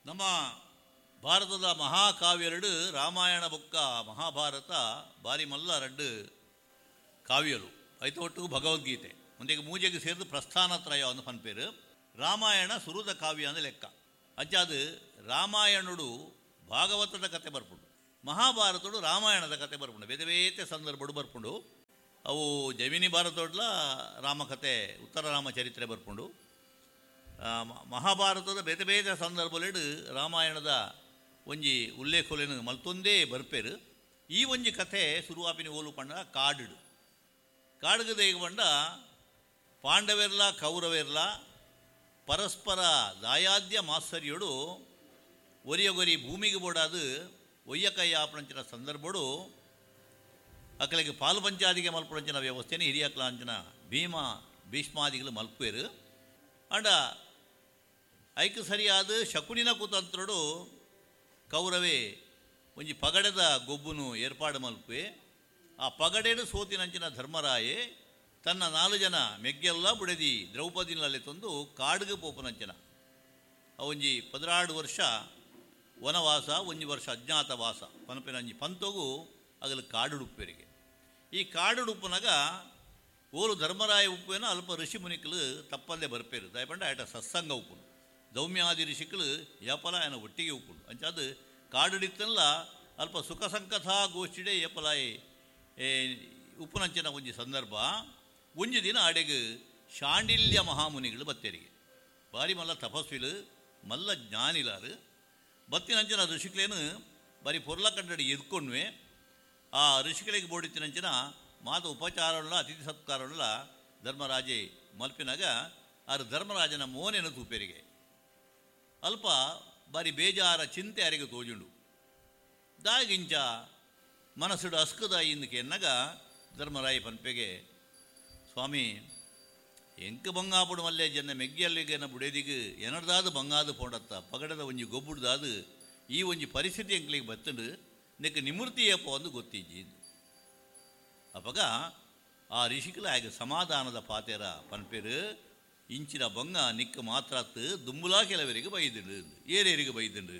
ನಮ್ಮ ಭಾರತದ ಮಹಾಕಾವ್ಯಲೆಡ್ ರಾಮಾಯಣ ಬೊಕ್ಕ ಮಹಾಭಾರತ ಬಾರಿ ಮಲ್ಲ ರಡ್ಡ್ ಕಾವ್ಯಲು. ಐತ ಒಟ್ಟುಗು ಭಗವದ್ಗೀತೆ ಉಂದೆಕ್ ಮೂಜೆಗ್ ಸೇರ್ದ್ ಪ್ರಸ್ಥಾನತ್ರಯ ಅಂದ್ ಪನ್ಪೆರ್. ರಾಮಾಯಣ ಸುರುತ ಕಾವ್ಯ ಅಂದ್ ಲೆಕ್ಕ. ಅಂಚಾದ್ ರಾಮಾಯಣೊಡು ಭಾಗವತದ ಕತೆ ಬರ್ಪುಂಡು. ಮಹಾಭಾರತೊಡು ರಾಮಾಯಣದ ಕತೆ ಬರ್ಪುಂಡು. ಬೇತೆ ಬೇತೆ ಸಂದರ್ಭೊಡು ಬರ್ಪುಂಡು. ಅವು ಜೈಮಿನಿ ಭಾರತೊಡ್ಲಾ ರಾಮಕತೆ ಉತ್ತರ ರಾಮ ಚರಿತ್ರೆ ಬರ್ಪುಂಡು. ಮಹಾಭಾರತದ ಬೇತೆ ಬೇತೆ ಸಂದರ್ಭೊಲೆಡ್ ರಾಮಾಯಣದ ಒಂಜಿ ಉಲ್ಲೇಖೊಲೆನ್ ಮಲ್ತೊಂದೇ ಬರ್ಪೆರ್. ಈ ಒಂಜಿ ಕಥೆ ಸುರುವಾಪಿನಿ ಓಲು ಪಂಡ ಕಾಡ್ಡ್. ಕಾಡ್ಗ್ ದೇಗ್ ಪಂಡ ಪಾಂಡವೆರ್ಲಾ ಕೌರವೆರ್ಲಾ ಪರಸ್ಪರ ದಾಯಾದ್ಯ ಮಾತ್ಸರ್ಯೊಡು ಒರಿಯಗೊರಿ ಭೂಮಿಗ್ ಬೋಡಾದ್ ಒಯ್ಯಕೈ ಆಪುನಂಚಿನ ಸಂದರ್ಭೊಡು ಅಕಲೆಗ್ ಪಾಲ್ ಪಂಚಾದಿಗೆ ಮಲ್ಪುನಂಚಿನ ವ್ಯವಸ್ಥೆನ್ ಹಿರಿಯಕ್ಲಾಂಚಿನ ಭೀಮ ಭೀಷ್ಮಾದಿಗಳು ಮಲ್ಪುವೆರ್. ಆಂಡ ಐಕ್ ಸರಿಯಾದ್ ಶಕುನಿನ ಕುತಂತ್ರೊಡು ಕೌರವೆ ಒಂಜಿ ಪಗಡೆದ ಗೊಬ್ಬುನು ಏರ್ಪಾಡ್ ಮಲ್ಪುವೆ. ಆ ಪಗಡೆಡ್ ಸೋತಿನಂಚಿನ ಧರ್ಮರಾಯೆ ತನ್ನ ನಾಲ್ ಜನ ಮೆಗ್ಗೆಲ್ಲ ಬುಡೆದಿ ದ್ರೌಪದಿನ ಲೆತ್ತೊಂದು ಕಾಡ್ಗ್ ಪೋಪುನಂಚಿನ ಅವೊಂಜಿ 12 ವರ್ಷ ವನವಾಸ ಒಂಜಿ ವರ್ಷ ಅಜ್ಞಾತವಾಸ ಪನ್ಪಿನ ಒಂಜಿ ಪಂತೊಗು ಅಗಲು ಕಾಡುಡುಪ್ಪೆರಿಗೆ. ಈ ಕಾಡುಡುಪ್ಪುನಗ ಓಲು ಧರ್ಮರಾಯ ಉಪ್ಪುವೆನ ಅಲ್ಪ ಋಷಿ ಮುನಿಕುಲು ತಪ್ಪಂದೆ ಬರ್ಪೆರ್. ದಾಯೆ ಪಂಡ ಆಯಟ ಸತ್ಸಂಗ ಉಪ್ಪುಂಡು. ದೌಮ್ಯಾದಿ ಋಷಿಕುಲು ಏಪಲ ಆಯನ ಒಟ್ಟಿಗೆ ಉಪ್ಪುಂಡು. ಅಂಚಾದ್ ಕಾಡುಡಿತ್ತನ್ಲ ಅಲ್ಪ ಸುಖ ಸಂಕಥಾ ಗೋಷ್ಠಿಡೇ ಏಪಲಾಯೆ ಉಪ್ಪುನಂಚಿನ ಒಂಜಿ ಸಂದರ್ಭ. ಒಂಜಿ ದಿನ ಅಡೆಗ್ ಶಾಂಡಿಲ್ಯ ಮಹಾಮುನಿಗಳು ಬತ್ತೆರಿಗೆ. ಬಾರಿ ಮಲ್ಲ ತಪಸ್ವಿಲು ಮಲ್ಲ ಜ್ಞಾನಿಲಾರು ಬತ್ತಿನಂಚಿನ ಋಷಿಕ್ಲೇನು ಬಾರಿ ಪೊರ್ಲ ಕಂಡಡಿ ಎದ್ಕೊಂಡ್ವೆ. ಆ ಋಷಿಗಳಿಗೆ ಬೋಡಿತ್ತಿನಂಚಿನ ಮಾತ ಉಪಚಾರಗಳ ಅತಿಥಿ ಸತ್ಕಾರಗಳ ಧರ್ಮರಾಜೆ ಮಲ್ಪಿನಾಗ ಆರು ಧರ್ಮರಾಜನ ಮೋನೆನ ತೂಪೆರಿಗೆ. ಅಲ್ಪ ಬಾರಿ ಬೇಜಾರ ಚಿಂತೆ ಅರೆಗೆ ತೋಜುಂಡು. ದಾಗಿಂಚ ಮನಸ್ಸುಡು ಅಸ್ಕದ ಇಂದಕ್ಕೆ ಎನ್ನಗ ಧರ್ಮರಾಯ ಪನ್ಪೆಗೆ, ಸ್ವಾಮಿ ಎಂಕ್ ಬಂಗಾಪುಡು ಮಲ್ಲೆ ಜನ ಮೆಗ್ಗಿಯಲ್ಲಿಗೆನ ಬುಡೇದಿಗ್ ಎನಡ್ದಾದ ಬಂಗಾದ ಪೋಂಡತ್ತ ಪಗಡದ ಒಂಜಿ ಗೊಬ್ಬುಡ್ದಾದ ಈ ಒಂಜಿ ಪರಿಸ್ಥಿತಿ ಎಂಕ್ಲಿಗೆ ಬತ್ತಂಡು ನೆಕ್ ನಿಮೃತಿ ಏಪ ಒಂದು ಗೊತ್ತಿಜ್ಜಿ. ಅಪಗ ಆ ಋಷಿಕಲ ಆಗ ಸಮಾಧಾನದ ಪಾತೆರ ಪನ್ಪೆರು, ಇಂಚಿನ ಬಂಗ ನಿಕ್ಕ ಮಾತ್ರತ್ ದುಂಬುಲಾ ಕೆಲವರಿಗೆ ಬೈದುಂಡು, ಏರೇರಿಗೆ ಬೈದುಂಡು.